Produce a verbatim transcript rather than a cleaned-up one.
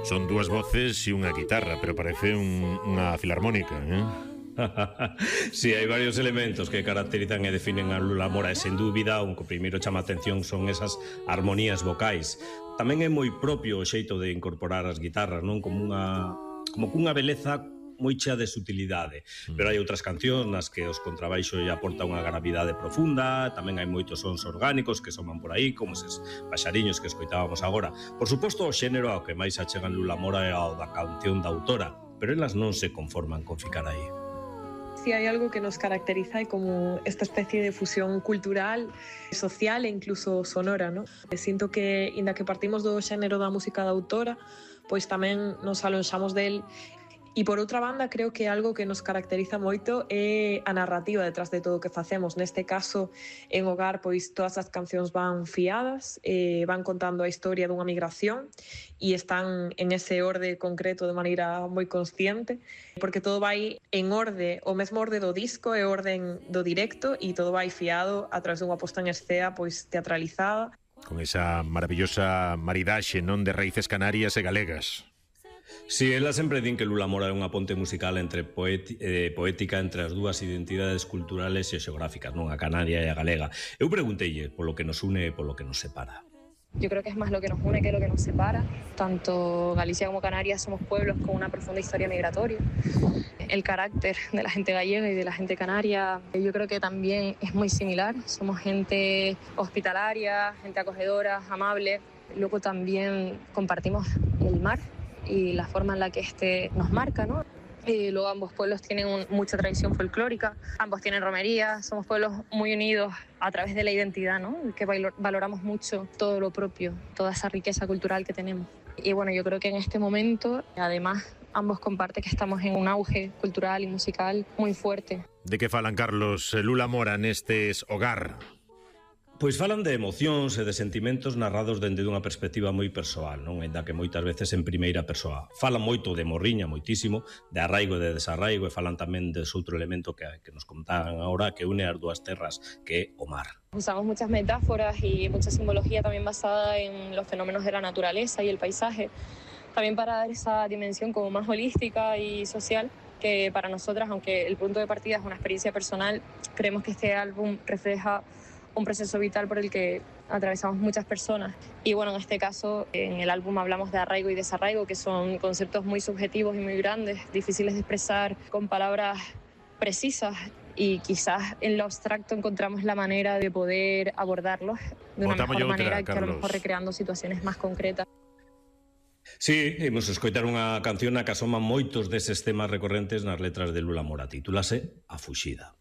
Son dúas voces e unha guitarra, pero parece un, unha filarmónica, eh? Si, sí, hai varios elementos que caracterizan e definen a Lula Mora e sen dúbida o que primeiro chama a atención son esas armonías vocais. Tamén é moi propio o xeito de incorporar as guitarras, non? Como unha como cunha beleza moi chea de sutilidade, pero hai outras cancións nas que os contrabaixos lle aporta unha gravidade profunda, tamén hai moitos sons orgánicos que soman por aí, como eses paxariños que escoitábamos agora. Por suposto, o xénero ao que máis achegan Lula Mora é ao da canción da autora, pero elas non se conforman con ficar aí. Si hay algo que nos caracteriza é como esta especie de fusión cultural, social e incluso sonora, ¿no? Sinto que, inda que partimos do xénero da música da autora, pois tamén nos alonxamos del. E por outra banda, creo que algo que nos caracteriza moito é a narrativa detrás de todo o que facemos. Neste caso, en Hogar, pois todas as cancións van fiadas, eh, van contando a historia dunha migración e están en ese orde concreto de maneira moi consciente, porque todo vai en orde, o mesmo orde do disco e orden do directo, e todo vai fiado a través dunha posta en escena pois teatralizada. Con esa maravillosa maridaxe, non, de raíces canarias e galegas. Si, ela sempre din que Lula Mora é unha ponte musical entre poeti, eh, poética entre as dúas identidades culturales e xeográficas, non, a canaria e a galega. Eu pregunteille polo que nos une e polo que nos separa. Yo creo que es más lo que nos une que lo que nos separa. Tanto Galicia como Canarias somos pueblos con una profunda historia migratoria. El carácter de la gente gallega y de la gente canaria yo creo que también es muy similar. Somos gente hospitalaria, gente acogedora, amable. Luego también compartimos el mar y la forma en la que este nos marca, ¿no? Y luego ambos pueblos tienen un, mucha tradición folclórica, ambos tienen romería, somos pueblos muy unidos a través de la identidad, ¿no? Que valoramos mucho todo lo propio, toda esa riqueza cultural que tenemos. Y bueno, yo creo que en este momento, además, ambos comparten que estamos en un auge cultural y musical muy fuerte. De que falan, Carlos, Lula Mora nestes Hogar? Pois falan de emocións e de sentimentos narrados dende dunha perspectiva moi persoal, non? Ainda que moitas veces en primeira persoa. Falan moito de morriña, moitísimo, de arraigo e de desarraigo, e falan tamén dese outro elemento que, que nos contaban agora, que une as dúas terras, que é o mar. Usamos muchas metáforas y mucha simbología también basada en los fenómenos de la naturaleza y el paisaje, también para dar esa dimensión como más holística y social, que para nosotras, aunque el punto de partida es una experiencia personal, creemos que este álbum refleja un proceso vital por el que atravesamos muchas personas. Y bueno, en este caso, en el álbum hablamos de arraigo y desarraigo, que son conceptos muy subjetivos y muy grandes, difíciles de expresar con palabras precisas, y quizás en lo abstracto encontramos la manera de poder abordarlos de una mejor manera que a lo mejor recreando situaciones más concretas. Sí, imos escoitar unha canción na que asoman moitos deses temas recorrentes nas letras de Lula Mora. Titúlase A Fuxida.